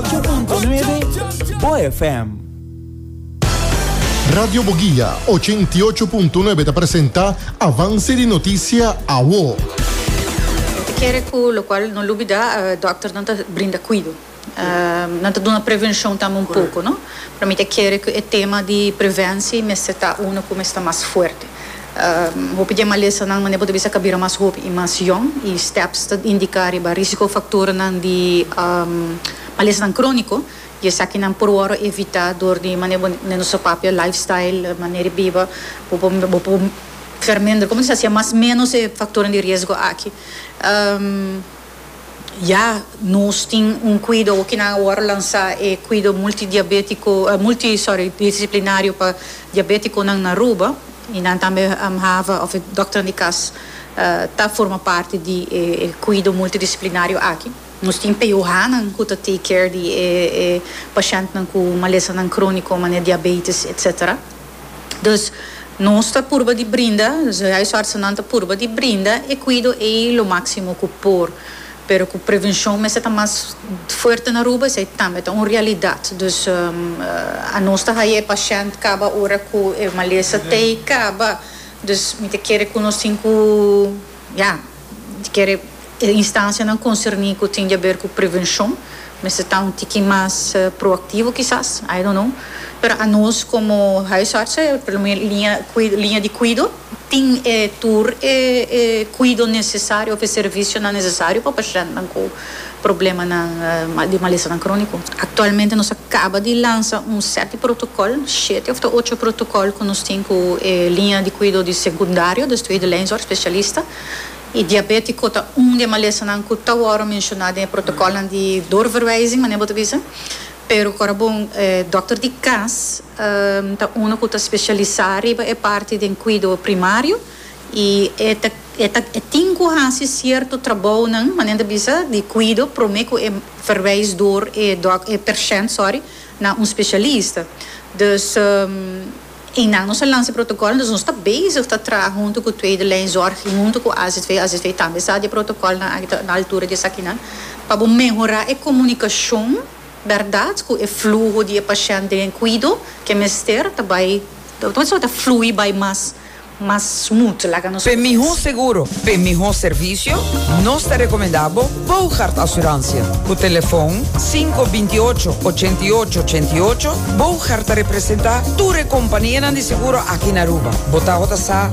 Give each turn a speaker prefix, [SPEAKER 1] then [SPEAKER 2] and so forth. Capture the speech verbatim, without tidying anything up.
[SPEAKER 1] ocho punto nuebe Bo F M.
[SPEAKER 2] Radio Boguia ochenta i ocho punto nuebe ta presenta Avance di Noticia Awo.
[SPEAKER 3] Kere cu locual no lubida, uh, dokter nan ta brinda cuido. Uh, nan ta duna prevencion tambe un poco, no? Pa mi ta kere cu e tema di prevencia mester ta uno cu ta mas fuerte. Um, hopi di malesa nan mane bo ta bisa a bira mas hopi y mas jong y steps ta indica riba risico factor nan di um, malesa nan cronico y esaki nan por wordo evita door di mane bo nos papia lifestyle, manera biba, bo bo bo verminder, como se dice, mas menos e factor di riesgo aki. Um, ja, nos tin un cuido cu nan awor lansa e cuido multidiabetico, uh, multi, sorry, disciplinario pa diabetico nan na Aruba y nan tambe um, have of e dokter di cas uh, ta forma parte di eh, eh, cuido multidisciplinario aki. Nos tin P O H nan cu ta take care di eh, eh, pashent nan cu malesa nan cronico, mane diabetes, et cetera. Dus nos ta purba di brinda, dus huisartsen ta purba di brinda e cuido e lo maximo cu por. Pero cu prevencion mester ta mas fuerte na Aruba, esey tambe ta un realidad. Dus um, uh, a nos ta haya pashent caba ora cu e malesa t'ey caba. Dus mi ta kere cu nos tin cu, ja, kere instancia nan concerni cu tin di haber cu prevencion, mester ta un tiki mas uh, proactivo kisas, I don't know. Pero a nos como huisartsen, por liña, liña di cuido, tin eh, tur eh, eh, cuido necesario of servicio nan necesario pa pashent nan cu problema nan, uh, di malesa nan cronico. Actualmente nos a caba di lansa un set di protocol, shete of ocho protocol cu nos tin cu eh, liña di cuido di secundario, dus tweede lijnzorg, specialista. Y diabetico ta un di malesa nan cu ta awor menciona den protocol di doorverwijzing, maar bo bisa. Pero ora bon, eh, dokter di cas um, ta uno cu ta specialisa riba e parti di cuido primario y e ta e ta e tin cu haci cierto trabou nan, manera bisa di cuido prome cu e verwijs door e dok e pashent, sorry, na un specialista. Dus um, y nan nos a lansa protocol, dus nos ta bezig ta traha hunto cu tweede lijnzorg, hunto cu A Z V, A Z V tambe sa di protocol na na altura di esaki nan, pa mehora e comunicacion, berdad, cu e fluho di pashent den cuido, cu mester tambe, anto ta flui bay mas mas smooth, laga nos
[SPEAKER 4] Pa miho seguro, pa miho servicio, nos ta recomenda Bogart Assurantie. Cu telefon cinco dos ocho, ocho ocho ocho ocho, Bogart ta representa tur compania di seguro aki na Aruba. Bo ta sa.